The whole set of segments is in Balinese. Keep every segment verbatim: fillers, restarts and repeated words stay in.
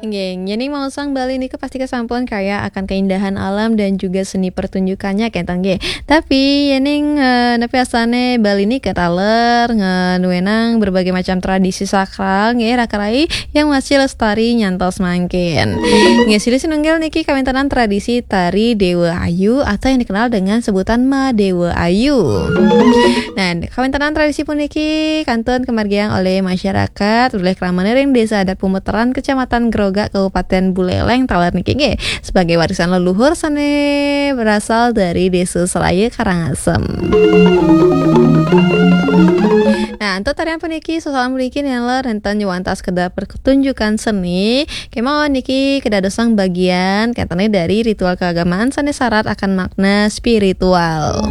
Nggih, yéning maosang Bali nika pasti sampun kaya akan keindahan alam dan juga seni pertunjukannya, kénten nggih. Tapi yéning, eh, nepi asané Bali nika taler ngenuénang berbagai macam tradisi sakral, nggih, raka rai yang masih lestari nyantos mangkin. Nggih, silih sinunggil niki kawéntenan tradisi tari Dewa Ayu atau yang dikenal dengan sebutan Madewa Ayu. Nah, kawéntenan tradisi puniki kantun kemargiang oleh masyarakat, oleh kramana ring Desa Adat Pumuteran, Kecamatan Grogak, Kabupaten Buleleng, taler niki nggih, sebagai warisan leluhur sané berasal dari Desa Seraya Karangasem. Nah, untuk tarian puniki, sosokan puniki nénten nyuwantas sekedar pertunjukan seni, kémaon niki kedadosang bagian kénten dari ritual keagamaan sané syarat akan makna spiritual.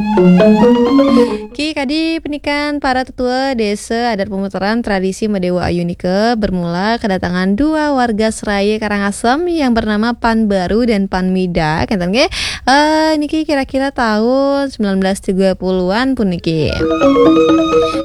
Ki kadi punikan para tetua Desa Adat Pumuteran, tradisi Madewa Ayu nika bermula kedatangan dua warga Seraya Karangasem yang bernama Pan Baru dan Pan Mida, kénten nggih. Eh, niki kira-kira tahun sembilan belas tiga puluhan puniki.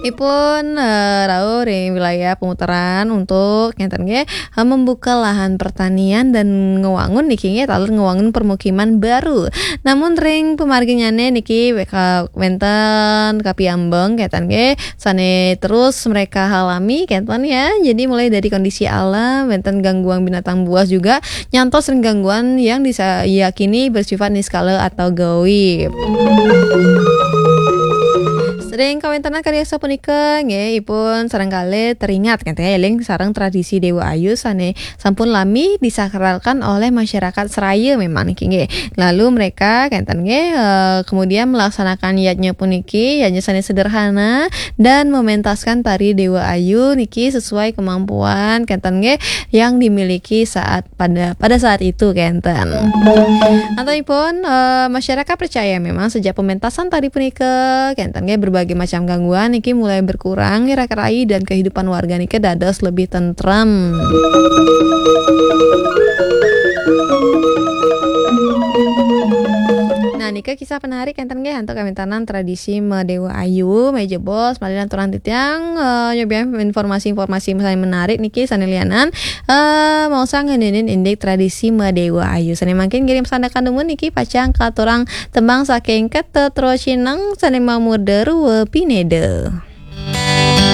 Ipun, eh, rauh ring wilayah Pumuteran untuk kénten nggih, eh, membuka lahan pertanian dan ngewangun niki nggih, taler ngewangun permukiman baru. Namun ring pamarginyané niki wéka-, wénten kapiambeng kénten nggih, sané terus mereka alami kénten ya. Jadi mulai dari kondisi alam, wénten gangguan binatang buas juga, nyantos ring gangguan yang diyakini bersifat niskala atau gaib. Ring kawéntenan kadi sapunika nggih, ipun sareng kalih teringat kénten ya, éling sareng tradisi Dewa Ayu sané sampun lami disakralkan oleh masyarakat Seraya memang niki nggih. Lalu mereka kénten nggih, eh, kemudian melaksanakan yadnya puniki, yadnya sané sederhana dan mementaskan tari Dewa Ayu niki sesuai kemampuan kénten nggih yang dimiliki saat pada, pada saat itu kénten. Antaipun, eh, masyarakat percaya memang sejak pementasan tari punika kénten nggih, berbagai macam gangguan niki mulai berkurang, raka rai dan kehidupan warga nika dados lebih tentrem. Nah, nika kisah penarik kénten nggih antuk kawéntenan tradisi Madewa Ayu, méh jebos malih lanturang titiang, eh, nyobiahang informasi-informasi sané menarik niki sané lianan, eh, maosang ngenénin indik tradisi Madewa Ayu. Sané mangkin ngiring pasandekan dumun niki pacang katurang tembang saking Ketut Rocineng sané mamurda Rua Pineda.